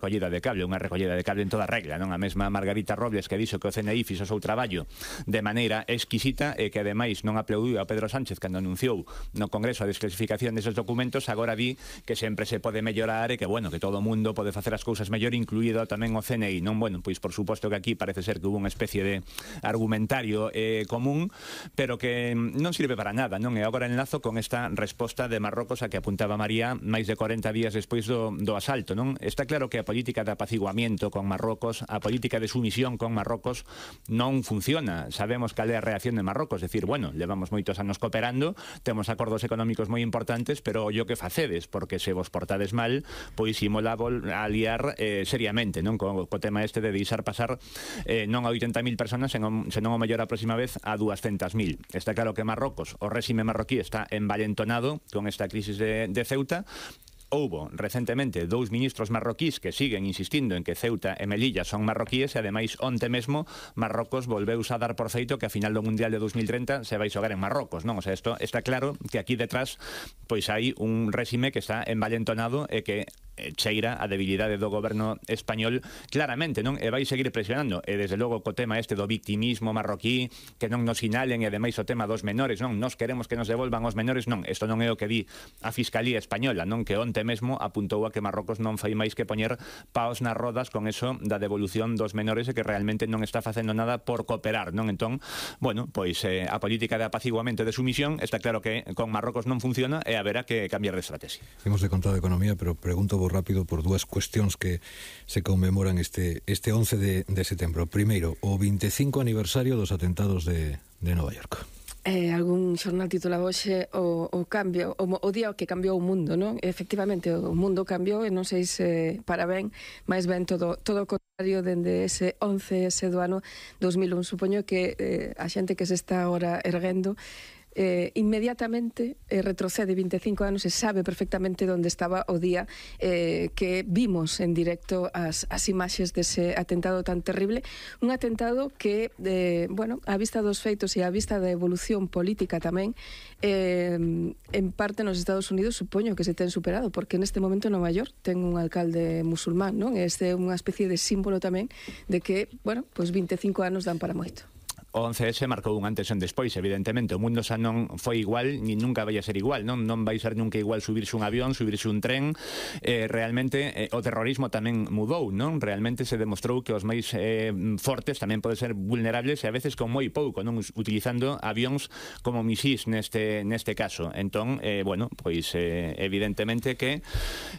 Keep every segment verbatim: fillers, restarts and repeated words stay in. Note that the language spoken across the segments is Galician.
recollida de cable, unha recollida de cable en toda regla, non? A mesma Margarita Robles que dixo que o C N I fixo o seu traballo de maneira exquisita e que ademais non aplaudiu a Pedro Sánchez cando anunciou no Congreso a desclasificación deses documentos, agora di que sempre se pode mellorar e que, bueno, que todo o mundo pode facer as cousas mellor, incluído tamén o C N I, non? Bueno, pois por suposto que aquí parece ser que hubo unha especie de argumentario eh, común, pero que non sirve para nada, non? E agora enlazo con esta resposta de Marrocos a que apuntaba María máis de corenta días despois do, do asalto, non? Está claro que a política de apaciguamiento con Marrocos, a política de sumisión con Marrocos non funciona. Sabemos cal é a reacción de Marrocos, decir, bueno, levamos moitos anos cooperando, temos acordos económicos moi importantes, pero ollo que facedes, porque se vos portades mal, pois imola a liar eh, seriamente, non? Co, co tema este de deixar pasar eh, non a oitenta mil personas, senón, senón o mellor a próxima vez a duascentas mil. Está claro que Marrocos, o réxime marroquí está envalentonado con esta crisis de, de Ceuta. Houbo recentemente dous ministros marroquís que siguen insistindo en que Ceuta e Melilla son marroquíes e ademais onte mesmo Marrocos volveu a dar por feito que a final do Mundial de dos mil treinta se vai xogar en Marrocos, non? O sea, isto está claro que aquí detrás pois hai un réxime que está envalentonado e que cheira a debilidade do goberno español claramente, non? E vai seguir presionando, e desde logo co tema este do victimismo marroquí, que non nos sinalen, e ademais o tema dos menores, non? Nos queremos que nos devolvan os menores, non, isto non é o que di a Fiscalía Española, non? Que onte mesmo apuntou a que Marrocos non fai máis que poñer paos nas rodas con eso da devolución dos menores e que realmente non está facendo nada por cooperar, non? Entón, bueno, pois eh, a política de apaciguamento e de sumisión está claro que con Marrocos non funciona e haberá que cambiar de estrategia. Hemos de contar de economía, pero pregunto vos rápido por dúas cuestións que se conmemoran este este once de, de setembro. Primeiro, o veinticinco aniversario dos atentados de, de Nova York. Eh, algún xornal titulaba hoxe o, o cambio, o, o día que cambiou o mundo, non? Efectivamente, o mundo cambiou e non sei se para ben, máis ben todo, todo o contrario dende ese once, ese do ano dos mil un. Supoño que eh, a xente que se está agora erguendo Eh, inmediatamente eh, retrocede veinticinco anos e sabe perfectamente onde estaba o día eh, que vimos en directo as, as imaxes dese atentado tan terrible, un atentado que eh, bueno, a vista dos feitos e a vista da evolución política tamén eh, en parte nos Estados Unidos supoño que se ten superado, porque neste momento Nova York ten un alcalde musulmán, non? Este é unha especie de símbolo tamén de que, bueno, pois veinticinco anos dan para moito. O once ese marcou un antes e un despois, evidentemente. O mundo xa non foi igual, ni nunca vai a ser igual, non? Non vai ser nunca igual subirse un avión, subirse un tren. Eh, realmente, eh, o terrorismo tamén mudou, non? Realmente se demostrou que os máis eh, fortes tamén poden ser vulnerables e a veces con moi pouco, non? Utilizando avións como misís neste, neste caso. Entón, eh, bueno, pois eh, evidentemente que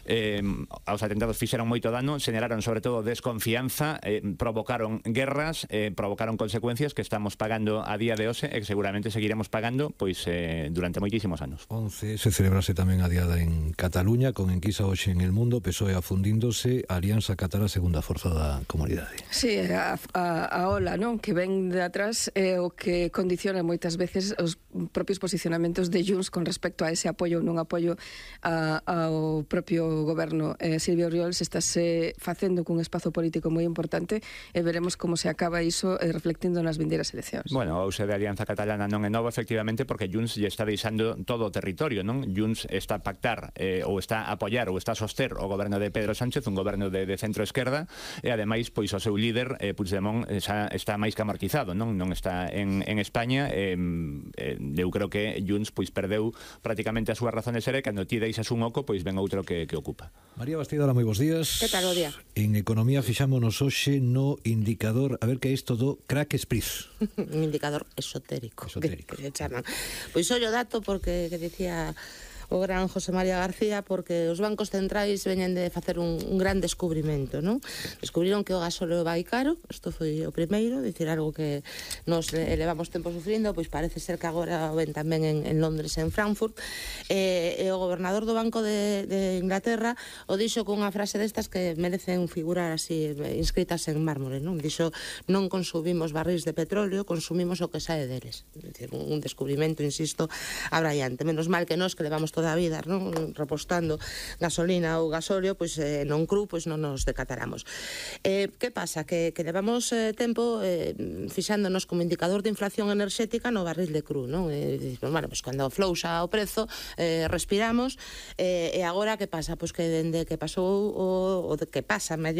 eh, os atentados fixeron moito dano, xeneraron sobre todo desconfianza, eh, provocaron guerras, eh, provocaron consecuencias que estamos pagando a día de hoxe e que seguramente seguiremos pagando pois eh, durante moitísimos anos. once se celebrase tamén a diada en Cataluña, con enquisa hoxe en el mundo, P S O E afundíndose, a Alianza Catalá segunda forza da comunidade. Sí, a, a, a ola, non? Que ven de atrás é eh, o que condiciona moitas veces os propios posicionamentos de Junts con respecto a ese apoio ou non apoio a, ao propio goberno. Eh, Silvio Oriols estáse facendo cun espazo político moi importante e veremos como se acaba iso eh, reflectindo nas vindeiras eleccións. Bueno, o uso de Alianza Catalana non é novo, efectivamente, porque Junts lle está deixando todo o territorio, non? Junts está a pactar eh, ou está a apoiar ou está a soster o goberno de Pedro Sánchez, un goberno de, de centro-esquerda, e ademais, pois, o seu líder, eh, Puigdemont, xa está máis que amortizado, non? Non está en, en España, eh, eh, eu creo que Junts, pois, perdeu prácticamente a súa razón de ser, e cando ti deixas un oco, pois ven outro que, que ocupa. María Bastidora, moi bons días. Que tal o día? En Economía fixámonos hoxe no indicador, a ver que é isto do crack spritz. Un indicador esotérico, esotérico. Que, que se chaman. Pois ollo dato porque que dicía o gran José María García, porque os bancos centrais veñen de facer un, un gran descubrimento, non? Descubriron que o gasóleo vai caro, isto foi o primeiro, dicir algo que nos levamos tempo sufrindo, pois parece ser que agora o ven tamén en, en Londres e en Frankfurt, e, e o gobernador do Banco de, de Inglaterra o dixo con unha frase destas que merecen figurar así, inscritas en mármore, non? Dixo, non consumimos barrís de petróleo, consumimos o que sae deles. Dicir, un descubrimento, insisto, abraiante. Menos mal que nós que levamos todo toda a vida, non? Repostando gasolina ou gasóleo, pois eh, non cru, pois non nos decataramos. Eh, que pasa? Que, que levamos eh, tempo eh, fixándonos como indicador de inflación enerxética no barril de cru, non? Eh, pues, bueno, pues cando flouxa o prezo, eh, respiramos, eh, e agora que pasa? Pois que dende que pasou o, o de que pasa medio